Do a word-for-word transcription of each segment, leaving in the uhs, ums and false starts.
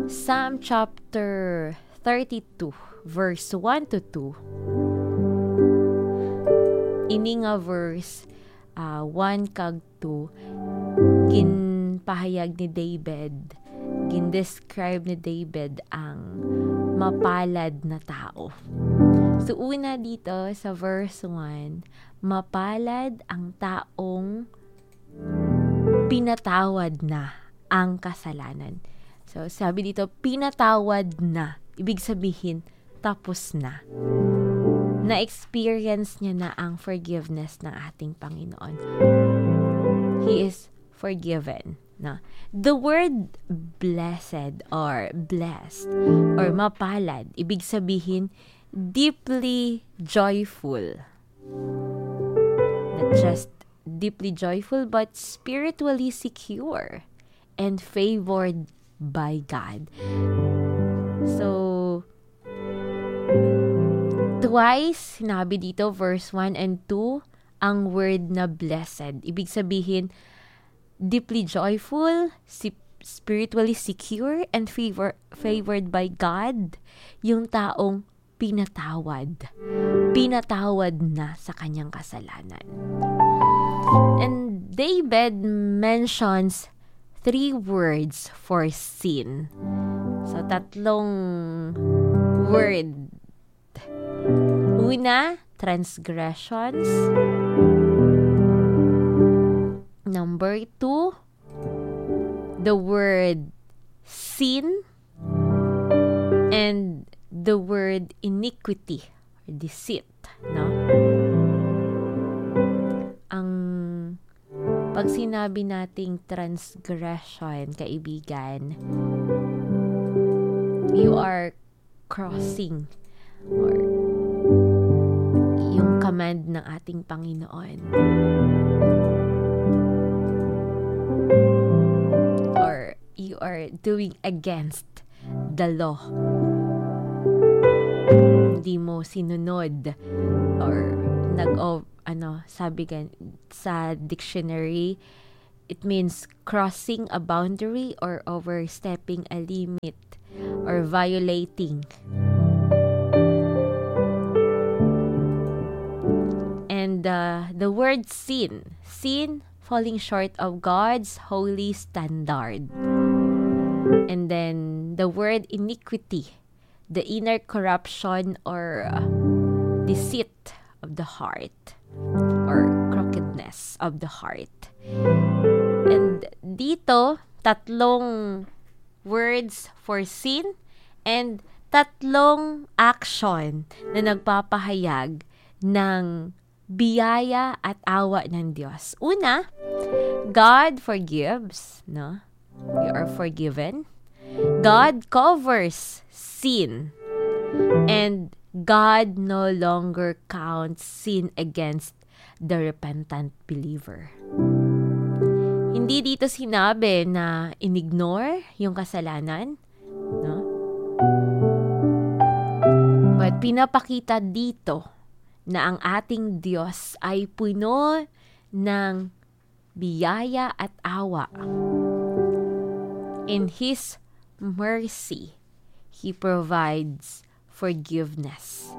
Psalm chapter thirty-two, verse one to two. Ini nga verse, ah, one kag two, ginpahayag ni David, gindescribe ni David ang mapalad na tao. So, una dito sa verse one, mapalad ang taong pinatawad na ang kasalanan. So, sabi dito, pinatawad na. Ibig sabihin, tapos na. Na-experience niya na ang forgiveness ng ating Panginoon. He is forgiven. No? The word blessed or blessed or mapalad, ibig sabihin, deeply joyful. Not just deeply joyful, but spiritually secure and favored by God. So, twice, sinabi dito, verse one and two, ang word na blessed. Ibig sabihin, deeply joyful, si-, spiritually secure, and favor-, favored by God, yung taong pinatawad. Pinatawad na sa kanyang kasalanan. And David mentions three words for sin. So, tatlong word. Una, transgressions. Number two, the word sin. And the word iniquity or deceit, no? Ang pag sinabi nating transgression, kaibigan, you are crossing or yung command ng ating Panginoon. Or you are doing against the law. Hindi mo sinunod or nag-, o, ano, sabi gan-, sa dictionary, it means crossing a boundary or overstepping a limit or violating. And, uh, the word sin, sin, falling short of God's holy standard. And then the word iniquity, the inner corruption or, uh, deceit of the heart or crookedness of the heart. And dito, tatlong words for sin and tatlong action na nagpapahayag ng biyaya at awa ng Diyos. Una, God forgives, no? We are forgiven. God covers sin. And God no longer counts sin against the repentant believer. Hindi dito sinabi na in-ignore yung kasalanan, no? But pinapakita dito na ang ating Diyos ay puno ng biyaya at awa. In His mercy, He provides forgiveness.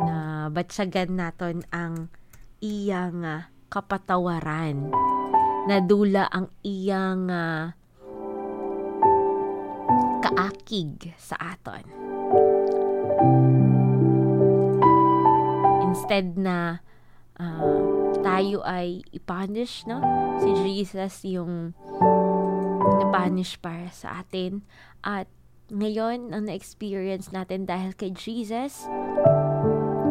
Nabatyagan naton ang iya nga kapatawaran. Nadula ang iya nga kaakig sa aton. Instead na, ah, tayo ay i-punish, no? Si Jesus yung na-punish para sa atin. At ngayon, ang na-experience natin dahil kay Jesus,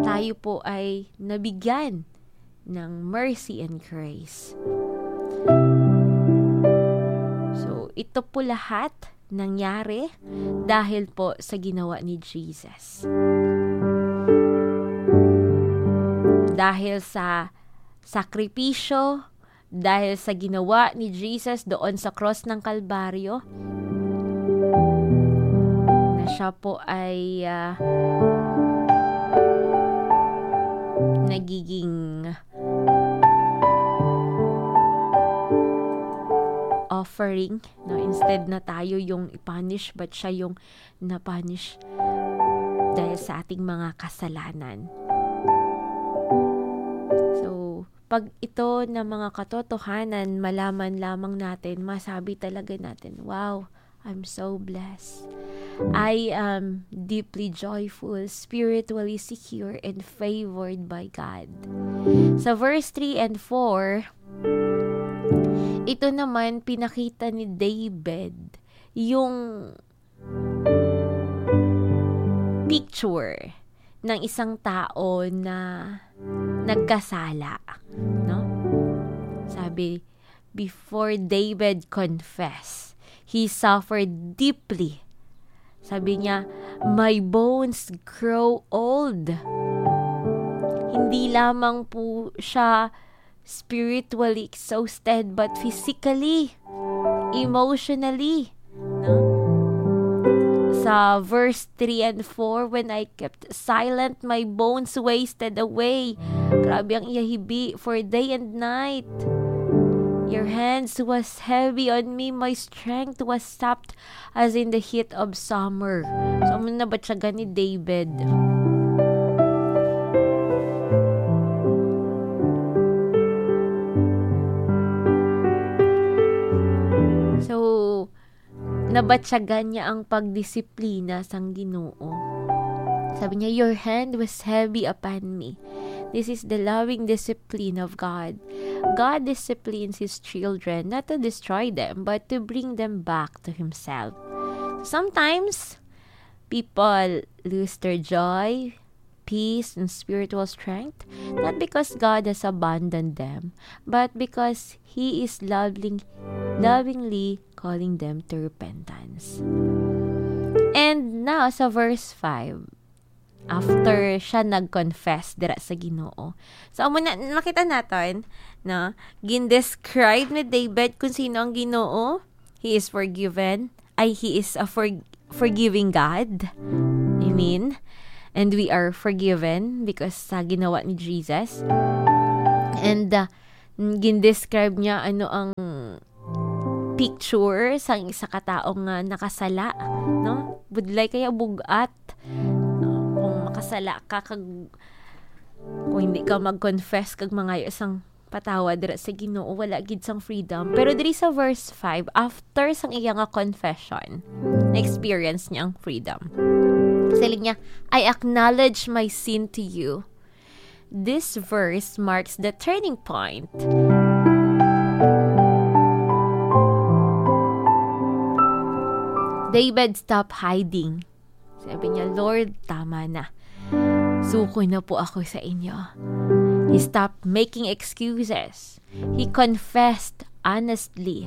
tayo po ay nabigyan ng mercy and grace. So, ito po lahat nangyari dahil po sa ginawa ni Jesus. Dahil sa sakripisyo, dahil sa ginawa ni Jesus doon sa cross ng Kalbaryo, na siya po ay, ah, nagiging offering, no? Instead na tayo yung i-punish, but siya yung na-punish dahil sa ating mga kasalanan. So, pag ito na mga katotohanan, malaman lamang natin, masabi talaga natin, "Wow, I'm so blessed. I am deeply joyful, spiritually secure, and favored by God." Sa verse three and four, ito naman pinakita ni David yung picture ng isang tao na nagkasala, no? Sabi, before David confess, he suffered deeply. Sabi niya, "My bones grow old." Hindi lamang po siya spiritually exhausted, but physically, emotionally, no? Sa verse three and four, "When I kept silent, my bones wasted away." Grabe ang iya hibi for day and night. "Your hands was heavy on me, my strength was sapped as in the heat of summer." So, amo na ba siya gani, David? So, nabatyagan niya ang pagdisiplina sang Ginoo. Sabi niya, "Your hand was heavy upon me." This is the loving discipline of God. God disciplines His children not to destroy them, but to bring them back to Himself. Sometimes, people lose their joy, peace, and spiritual strength, not because God has abandoned them, but because He is loving, lovingly calling them to repentance. And now, sa verse five, after siya nag-confess dira sa Ginoo. So, amo na, nakita naton, no? Gin-describe ni David kung sino ang Ginoo. He is forgiven. Ay, he is a for-, forgiving God. Amen. And we are forgiven because sa ginawa ni Jesus. And, uh, gin-describe niya ano ang picture sang isa ka tawo nga nakasala, no? Budlay kaya bug-at. No? Kung makasala ka, kag, kung hindi ka mag-confess kag mangayo sang patawad dira sa Ginoo, wala gid sang freedom. Pero diri sa verse five, after sang iya nga confession, na-experience niya ang freedom. Siling niya, "I acknowledge my sin to you." This verse marks the turning point. David stopped hiding. Sabi niya, "Lord, tama na. Suko na po ako sa inyo." He stopped making excuses. He confessed honestly.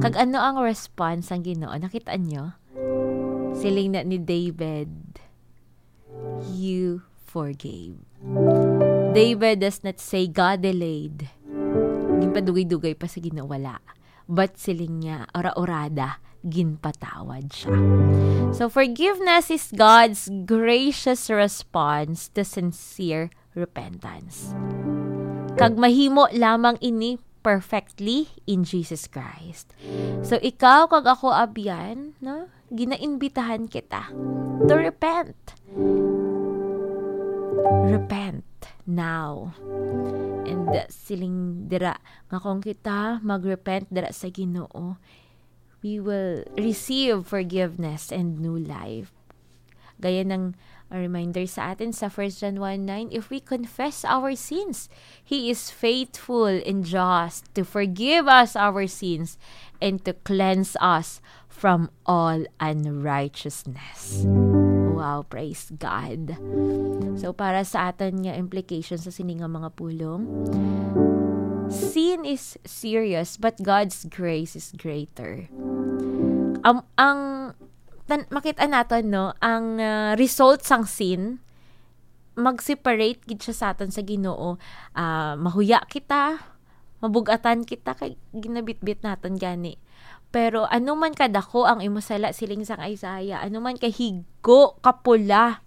Kag ano ang response sang Ginoo? Nakita niyo? Siling na ni David, "You forgave." David does not say, "God delayed." Ginpadugay-dugay pa sa Ginoo, wala. But siling niya, ora-orada, ginpatawad siya. So, forgiveness is God's gracious response to sincere repentance. Kag mahimo lamang ini perfectly in Jesus Christ. So, ikaw kag ako, abyan, no? Ginaimbitahan kita to repent. Repent now. And, uh, siling dira nga kung kita mag-repent dira sa Ginoo, we will receive forgiveness and new life. Gaya ng, uh, reminder sa atin sa First John one nine, "If we confess our sins, He is faithful and just to forgive us our sins and to cleanse us from all unrighteousness." Wow, praise God. So, para sa aton nga implication sa sini nga mga pulong, sin is serious, but God's grace is greater. Am-, ang tan-, makita naton, no, ang, ah, result sang sin, mag-separate gid siya sa aton sa Ginoo. Ah, mahuya kita, mabug-atan kita, kay ginabitbit naton gani. Pero ano man kadako ang imo sala, siling sang Isaiah, ano man kahigo, kapula,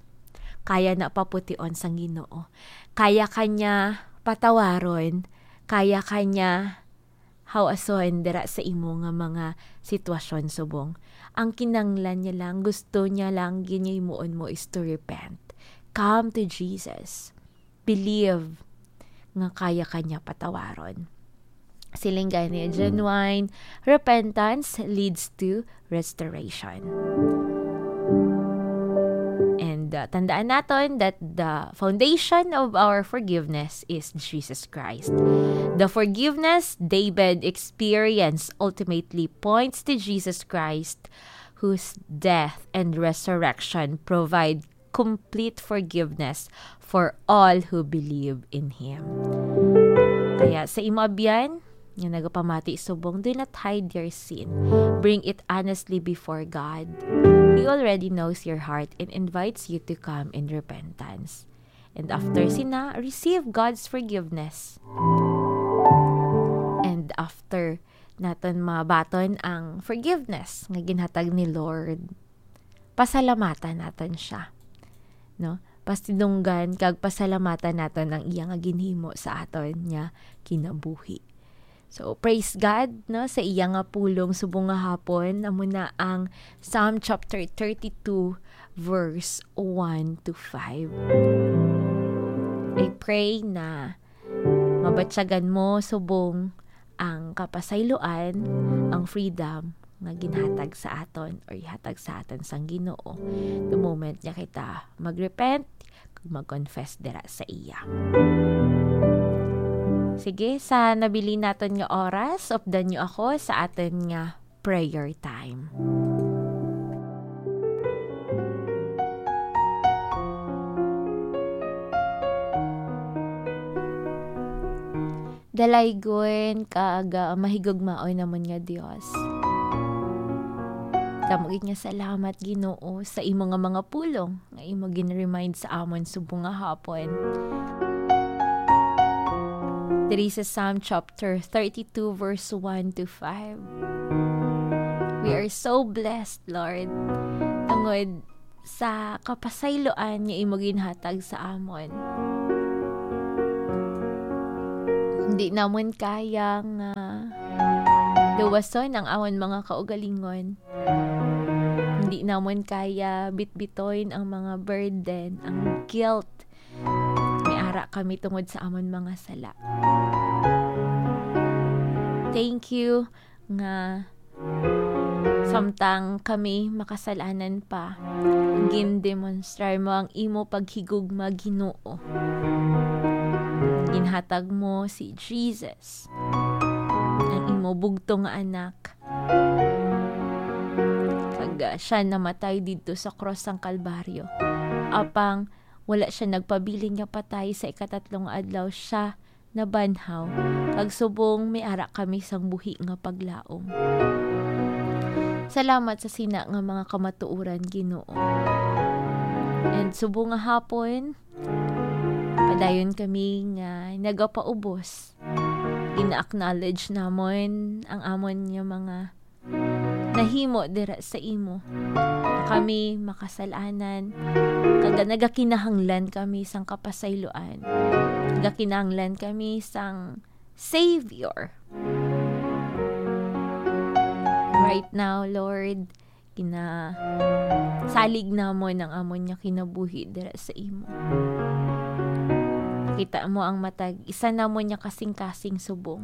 kaya na papution sang Ginoo. Kaya ka niya patawaron, kaya ka niya hawason dira sa imo nga mga sitwasyon subong. Ang kinanglan niya lang, gusto niya lang, ginhimuon mo is to repent. Come to Jesus. Believe nga kaya ka niya patawaron. Siling gani, genuine repentance leads to restoration. And, uh, tandaan naton that the foundation of our forgiveness is Jesus Christ. The forgiveness David experienced ultimately points to Jesus Christ, whose death and resurrection provide complete forgiveness for all who believe in Him. Kaya sa imo abyan nga nagapamati subong, do not hide your sin. Bring it honestly before God. He already knows your heart and invites you to come in repentance. And after sina, receive God's forgiveness. And after naton mabaton ang forgiveness nga ginhatag ni Lord, pasalamatan naton siya, no? Pasidunggan kag pasalamatan naton ang iya nga ginhimo sa aton nga kinabuhi. So, praise God, no, sa iya nga pulong subong nga hapon. Amo na ang Psalm chapter thirty-two, verse one to five. I pray na mabatyagan mo subong ang kapasayloan, ang freedom nga ginhatag sa aton or ihatag sa aton sang Ginoo the moment nga kita mag-repent kag mag-confess dira sa iya. Sige, sa nabilin naton nga oras, updan niyo ako sa aton nga prayer time. Dalaygon kag, ah, mahigugmaon namon nga Dios. Damo gid nga salamat, Ginoo, sa imo nga mga pulong nga imo gin-remind sa amon subong nga hapon. Diri sa Psalm chapter thirty-two, verse one to five. We are so blessed, Lord, tungod sa kapasayloan nga imo ginhatag sa amon. Hindi namon kaya nga luwason ang amon mga kaugalingon. Hindi namon kaya bitbiton ang mga burden, ang guilt. May ara kami tungod sa amon mga sala. Thank you nga samtang kami makasalanan pa, gindemonstrar mo ang imo paghigugma, Ginoo. Ginhatag mo si Jesus, ang imo bugtong nga anak. Kag, ah, siya namatay didto sa krus sang Kalbaryo. Apang wala siya nagpabilin nga patay, sa ikatatlong adlaw siya nabanhaw, kag subong may ara kami sang buhi nga paglaom. Salamat sa sina nga mga kamatuoran, Ginoo. And subong nga hapon, padayon kami nga nagapaubos. Ina-acknowledge namon ang amon nga mga nahimo dira sa imo. Kami makasalanan, kag nagakinahanglan kami sang kapasayloan. Nagakinahanglan kami sang Savior. Right now, Lord, ginasalig namon ang amon nga kinabuhi dira sa imo. Kita mo ang matag isa namon nga kasing-kasing subong.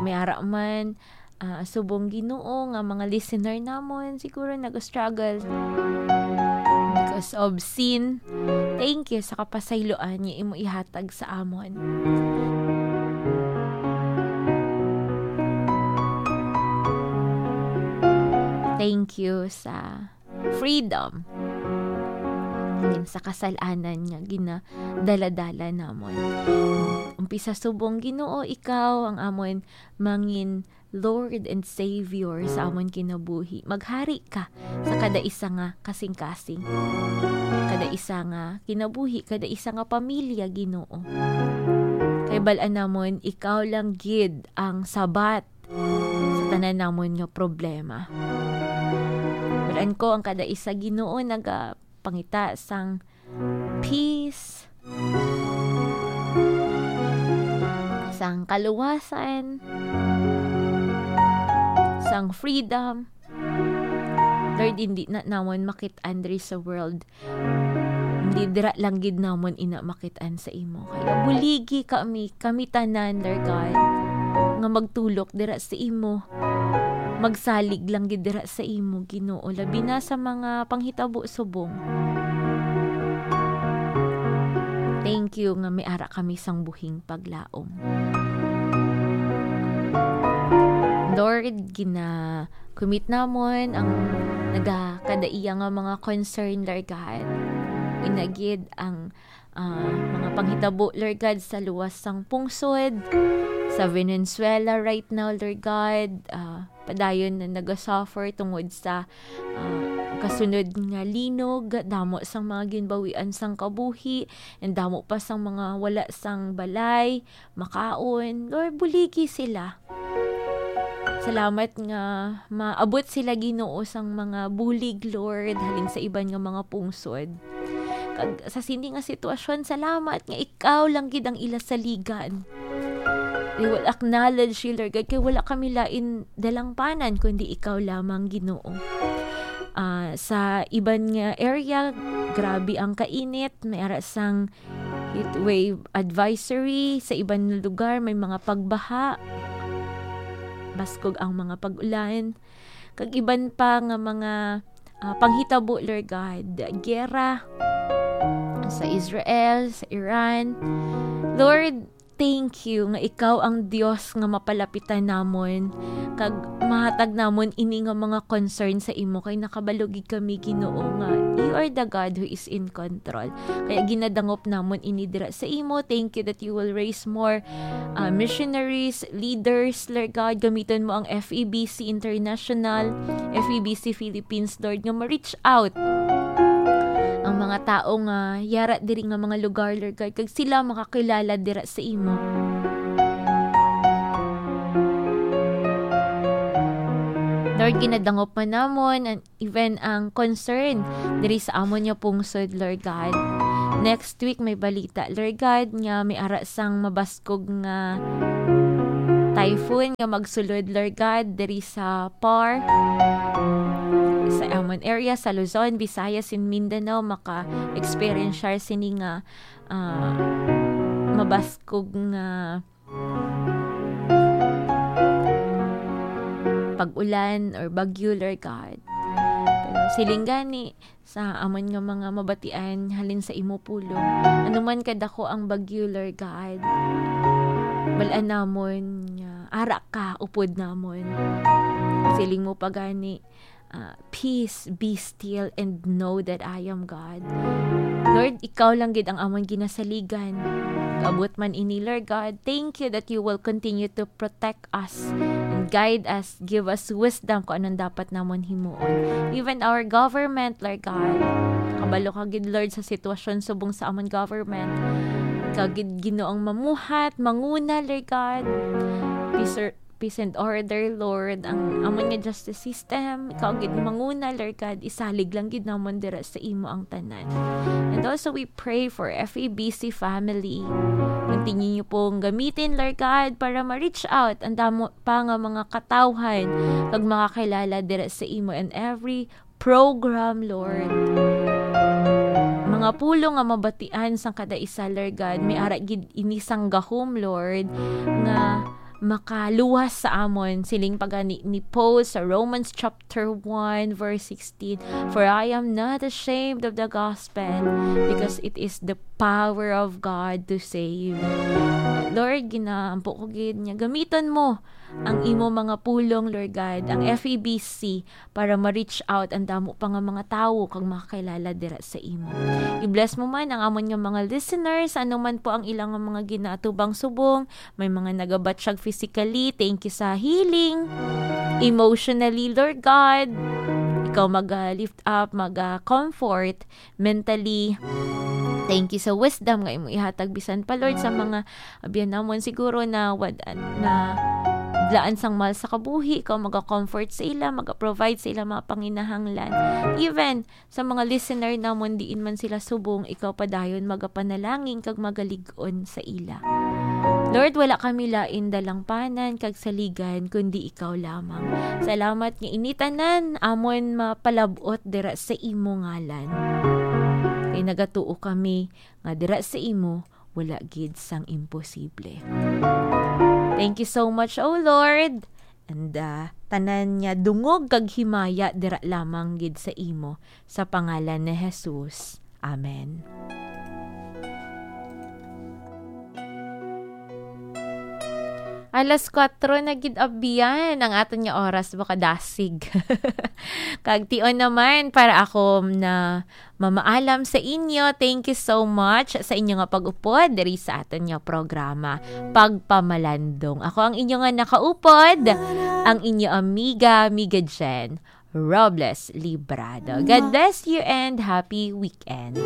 May ara man, ah, subong, Ginoo, nga mga listener namon siguro nag-struggle because of sin. Thank you sa kapasayloan nga imo ihatag sa amon. Thank you sa freedom, halin sa kasalanan nga ginadala-dala namon. Umpisa subong, Ginoo, ikaw ang amon mangin Lord and Savior sa amon kinabuhi. Maghari ka sa kada isa nga kasing-kasing, kada isa nga kinabuhi, kada isa nga pamilya, Ginoo. Kay bal-an namon, ikaw lang gid ang sabat sa tanan namon nga problema. Bal-an ko ang kada isa, Ginoo, nagapangita sang peace, sang kaluwasan, ang freedom. Lord, hindi na namon makit-an diri sa world. Hindi dira lang gid namon ina makit-an sa imo. Kaya buligi kami, kami tanan, Lord God, nga magtulok dira sa imo. Magsalig lang gid dira sa imo, Ginoo, labi na sa mga panghitabo subong. Thank you nga may ara kami sang buhing paglaom. Lord, gina-commit namon ang nagakadaiya nga mga concern, Lord God. Inagid ang, ah, mga panghitabo, Lord God, sa luwas sang pungsod, sa Venezuela right now, Lord God. Ah, padayon na nagasuffer tungod sa, ah, kasunod nga linog, damo sang mga ginbawian sang kabuhi, and damo pa sang mga wala sang balay, makaon. Lord, buligi sila. Salamat nga maabot sila, Ginoo, sang mga bulig, Lord, halin sa iban nga mga pungsod. Kag sa sini nga sitwasyon, salamat nga ikaw lang gid ang ila saligan. We will acknowledge you, Lord God, kay wala kami lain dalangpanan kundi ikaw lamang, Ginoo. Ah, sa iban nga area, grabe ang kainit, may ara sang heat wave advisory. Sa iban nga lugar, may mga pagbaha. Baskog ang mga pag-ulan. Kag iban pa nga mga, ah, panghitabo, Lord God. Giyera sa Israel, sa Iran. Lord, thank you nga ikaw ang Dios nga mapalapitan namon, kag mahatag namon ini nga mga concern sa imo, kay nakabalo gid kami, Ginoo, nga you are the God who is in control. Kaya ginadangop namon ini dira sa imo. Thank you that you will raise more, uh, missionaries, leaders, Lord God. Gamiton mo ang F E B C International, F E B C Philippines, Lord, nga ma-reach out ang mga tao nga yara diri nga mga lugar, Lord God, kag sila makakilala dira sa imo. Lord, ginadangop man namon an-, even ang concern diri sa amon nga pungsod, Lord God. Next week may balita, Lord God, nga may ara sang mabaskog nga typhoon nga magsulod, Lord God, diri sa PAR, sa amon area, sa Luzon, Visayas, and Mindanao, maka-experience sini nga, ah, mabaskog nga pag-ulan or bagyo, Lord God. Pero siling gani sa amon nga mga mabatian halin sa imo pulong, ano man kadako ang bagyo, Lord God, bal-an namon nga ara ka upod namon. Siling mo pa gani, ah, "Peace, be still, and know that I am God." Lord, ikaw lang gid ang amon ginasaligan. Abot man ini, Lord God, thank you that you will continue to protect us and guide us, give us wisdom kung anong dapat namon himuon. Even our government, Lord God, kabalo ka gid, Lord, sa sitwasyon subong sa amon government. Ikaw gid, Ginoo, ang mamuhat, manguna, Lord God. Peace or peace and order, Lord. Ang amon nga justice system, ikaw gid manguna, Lord God, isalig lang gid namon dira sa imo ang tanan. And also, we pray for F E B C family. Continue niyo pong gamitin, Lord God, para ma-reach out ang damo pa nga mga katawhan kag makakilala dira sa imo and every program, Lord. Mga pulong nga mabatian sang kada isa, Lord God, may ara gid ini sang gahom, Lord, nga makaluwas sa amon. Siling pa gani ni Paul sa Romans chapter one, verse sixteen, "For I am not ashamed of the gospel, because it is the power of God to save." Lord, ginaampo ko gid nga gamiton mo ang imo mga pulong, Lord God, ang F E B C, para ma-reach out ang damo pa nga mga tawo kag makakilala dira sa imo. I-bless mo man ang amon nga mga listeners, ano man po ang ilang nga mga ginaatubang subong, may mga nagabatyag physically, thank you sa healing, emotionally, Lord God, ikaw mag-lift up, mag-comfort, mentally. Thank you sa wisdom nga imo ihatag bisan pa, Lord, sa mga abyan namon siguro na wad-, na daan sang mal sa kabuhi, ikaw maga-comfort sa ila, maga-provide sa ila mga panginahanglan. Even sa mga listener namon, diin man sila subong, ikaw padayon magapanalangin kag magalig-on sa ila. Lord, wala kami lain dalangpanan kag saligan kundi ikaw lamang. Salamat nga ini tanan amon mapalab-ot dira sa imo ngalan. Kay nagatuo kami nga dira sa imo wala gid sang imposible. Thank you so much, O Lord. And ah, tanan nga dungog kag himaya dira lamang gid sa imo, sa pangalan ni Jesus. Amen. Alas kuwatro na gid, abyan, ang aton nga oras, baka dasig. Kag tion naman, para ako na mamaalam sa inyo, thank you so much sa inyo nga pag-upod diri sa aton nga programa, Pagpamalandong. Ako ang inyo nga nakaupod, ang inyo amiga, Miga Jen Robles Librado. God bless you and happy weekend.